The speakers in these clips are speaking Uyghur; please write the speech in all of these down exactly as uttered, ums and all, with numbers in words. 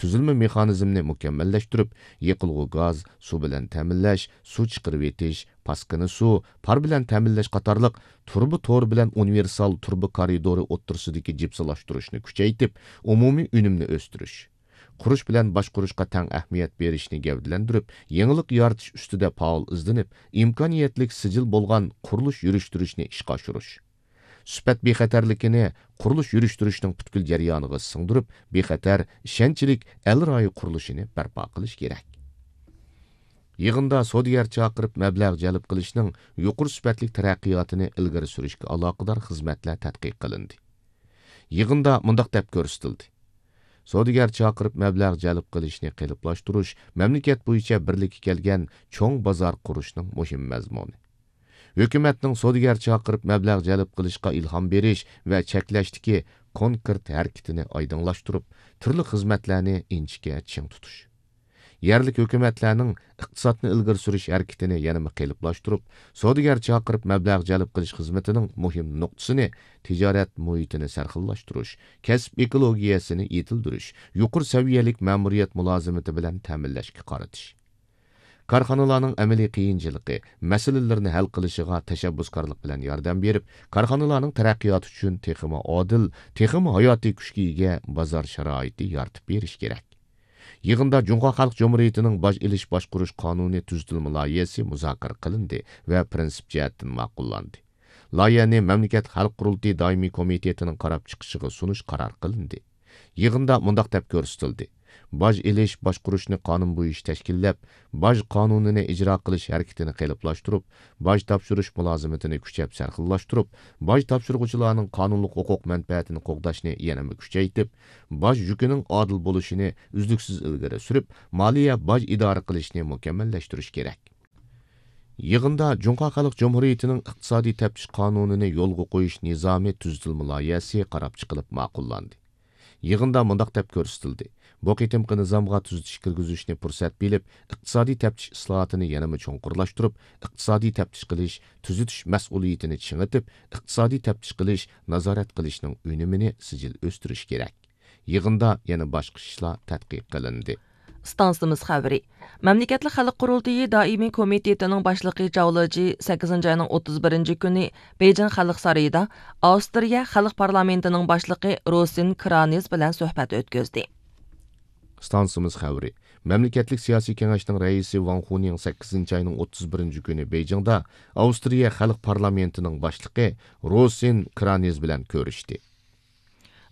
تۈزۈلمە مېخانىزمىنى مۇكەممەللەشتۈرۈپ، يېقىلغۇ گاز، سۇ بىلەن تەمىنلەش، سۇ چىقىرىۋېتىش، پاسكىنا سۇ، پار بىلەن تەمىنلەش قاتارلىق تۇرۇبا تورى بىلەن ئۇنىۋېرسال تۇرۇبا كارىدورى ئوتتۇرىسىدىكى جىپسىلاشتۇرۇشنى كۈچەيتىپ، ئومۇمىي ئۈنۈمنى ئۆستۈرۈش، قۇرۇش بىلەن باشقۇرۇشقا تەڭ ئەھمىيەت بېرىشنى گەۋدىلەندۈرۈپ، يېڭىلىق يارىتىش ئۈستىدە پائال ئىزدىنىپ، ئىمكانىيەتلىك سىجىل بولغان قۇرۇلۇش يۈرۈشتۈرۈشنى ئىشقا ئاشۇرۇش. سۈپەت بىخەتەرلىكىنى قۇرۇلۇش يۈرۈشتۈرۈشنىڭ پۈتكۈل جەريانىغا سىڭدۈرۈپ، بىخەتەر، ئىشەنچلىك ئەل رايى قۇرۇلۇشىنى بەرپا قىلىش كېرەك. يىغىندا سودىگەر چاقىرىپ مەبلەغ جەلپ قىلىشنىڭ يۇقىرى سۈپەتلىك تەرەققىياتىنى ئىلگىرى سۈرۈشكە ئالاقىدار خىزمەتلەر تەتقىق قىلىندى. يىغىندا مۇنداق دەپ كۆرسىتىلدى: سودىگەر چاقىرىپ مەبلەغ جەلپ قىلىشنى قېلىپلاشتۇرۇش مەملىكەت بويىچە بىرلىككە كەلگەن چوڭ بازار قۇرۇشنىڭ مۇھىم مەزمۇنى. ھۆكۈمەتنىڭ سودىگەر چاقىرىپ مەبلەغ جەلپ قىلىشقا ئىلھام بېرىش ۋە چەكلەشتىكى كونكرېت ھەرىكىتىنى ئايدىڭلاشتۇرۇپ، تۈرلۈك خىزمەتلەرنى ئىنچىكە چىڭ تۇتۇش. يەرلىك ھۆكۈمەتلەرنىڭ ئىقتىسادنى ئىلگىرى سۈرۈش ھەرىكىتىنى يەنىمۇ قېلىپلاشتۇرۇپ، سودىگەر چاقىرىپ مەبلەغ جەلپ قىلىش خىزمىتىنىڭ مۇھىم نۇقتىسىنى تىجارەت مۇھىتىنى سەرخىللاشتۇرۇش، كەسىپ ئېكولوگىيەسىنى يېتىلدۈرۈش، يۇقىرى سەۋىيەلىك مەمۇرىيەت مۇلازىمىتى بىلەن تەمىنلەشكە قارىتىش. كارخانىلارنىڭ ئەمەلىي قىيىنچىلىقى، مەسىلىلىرىنى ھەل قىلىشىغا تەشەببۇسكارلىق بىلەن ياردەم بېرىپ، كارخانىلارنىڭ تەرەققىياتى ئۈچۈن تېخىمۇ ئادىل، تېخىمۇ ھاياتىي كۈچكە ئىگە بازار شارائىتى يارىتىپ بېرىش كېرەك. يىغىندا جۇڭخۇا خەلق جۇمھۇرىيىتىنىڭ باج ئېلىش باشقۇرۇش قانۇنى تۈزىتىلمە لايىھەسى مۇزاكىرە قىلىندى ۋە پىرىنسىپ جەھەتتىن ماقۇللاندى. لايىھەنى مەملىكەت خەلق قۇرۇلتىيى دائىمىي كومىتېتىنىڭ قاراپ چىقىشىغا سۇنۇش قارار قىلىندى. يىغىندا مۇنداق دەپ كۆرسىتىلدى: باج ئېلىش باشقۇرۇشنى قانۇن بويىچە تەشكىللەپ، باج قانۇنىنى ئىجرا قىلىش ھەرىكىتىنى قېلىپلاشتۇرۇپ، باج تاپشۇرۇش مۇلازىمىتىنى كۈچەپ سەرخىللاشتۇرۇپ، باج تاپشۇرغۇچىلارنىڭ قانۇنلۇق ھوقۇق مەنپەئەتىنى قوغداشنى يەنىمۇ كۈچەيتىپ، باج يۈكىنىڭ ئادىل بولۇشىنى ئۈزلۈكسىز ئىلگىرى سۈرۈپ، مالىيە باج ئىدارە قىلىشنى مۇكەممەللەشتۈرۈش كېرەك. يىغىندا جۇڭخۇا خەلق جۇمھۇرىيىتىنىڭ ئىقتىسادىي تەپتىش قانۇنىنى يولغا قويۇش نىزامى تۈزىتىلمە لايىھەسى قاراپ چىقىلىپ ماقۇللاندى. يىغىندا مۇنداق دەپ كۆرسىتىلدى: بۇ قېتىمقى نىزامغا تۈزىتىش كىرگۈزۈشنى پۇرسەت بىلىپ، ئىقتىسادىي تەپتىش ئىسلاھاتىنى يەنىمۇ چوڭقۇرلاشتۇرۇپ، ئىقتىسادىي تەپتىش قىلىش، تۈزىتىش مەسئۇلىيىتىنى چىڭىتىپ، ئىقتىسادىي تەپتىش قىلىش، نازارەت قىلىشنىڭ ئۈنۈمىنى سىجىل ئۆستۈرۈش كېرەك. يىغىندا يەنە باشقا ئىشلار تەتقىق قىلىندى. ئىستانسىمىز خەۋىرى. مەملىكەتلىك خەلق قۇرۇلتىيى دائىمىي كومىتېتىنىڭ باشلىقى جاۋ لېجى سەككىزىنچى ئاينىڭ ئوتتۇز بىرىنچى كۈنى بېيجىڭ خەلق سارىيىدا ئاۋسترىيە خەلق پارلامېنتىنىڭ باشلىقى روسىن كرانېز بىلەن سۆھبەت ئۆتكۈزدى. ئىستانسىمىز خەۋىرى. مەملىكەتلىك سىياسىي كېڭەشنىڭ رەئىسى ۋاڭ خۇنىڭ سەككىزىنچى ئاينىڭ ئوتتۇز بىرىنچى كۈنى بېيجىڭدا ئاۋسترىيە خەلق پارلامېنتىنىڭ باشلىقى روسىن كرانېز بىلەن كۆرۈشتى.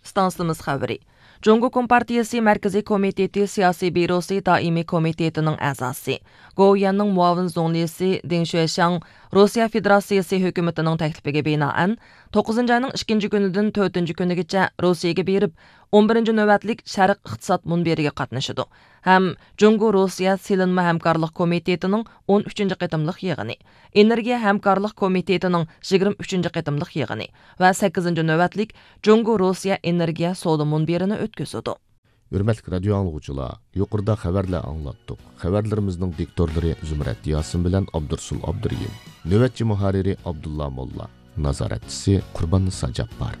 ئىستانسىمىز خەۋىرى. جۇڭگو كومپارتىيىسى مەركىزىي كومىتېتى سىياسىي بيۇروسى دائىمىي كومىتېتىنىڭ ئەزاسى، گوۋۇيۈەننىڭ مۇئاۋىن زۇڭلىسى دېڭ شۈەشياڭ روسىيە فېدېراتسىيىسى ھۆكۈمىتىنىڭ تەكلىپىگە بىنائەن، توققۇزىنچى ئاينىڭ ئىككىنچى كۈنىدىن تۆتىنچى كۈنىگىچە روسىيەگە بېرىپ، ئون بىرىنچى نۆۋەتلىك شەرق ئىقتىساد مۇنبىرىگە قاتنىشىدۇ ھەم جۇڭگو روسىيە سېلىنما ھەمكارلىق كومىتېتىنىڭ ئون ئۈچىنچى قېتىملىق يىغىنى، ئېنېرگىيە ھەمكارلىق كومىتېتىنىڭ يىگىرمە ئۈچىنچى قېتىملىق يىغىنى ۋە سەككىزىنچى نۆۋەتلىك جۇڭگو روسىيە ئېنېرگىيە سودا مۇنبىرىنى ئۆتكۈزىدۇ. ھۆرمەتلىك رادىيو ئاڭلىغۇچىلار، يۇقىرىدا خەۋەرلەر ئاڭلاتتۇق. خەۋەرلىرىمىزنىڭ دىكتورلىرى زۇمرەت ياسىن بىلەن ئابدۇرسۇل ئابدۇرېھىم، نۆۋەتچى مۇھەررىرى ئابدۇللا موللا، نازارەتچىسى قۇرباننىسا جاپپار.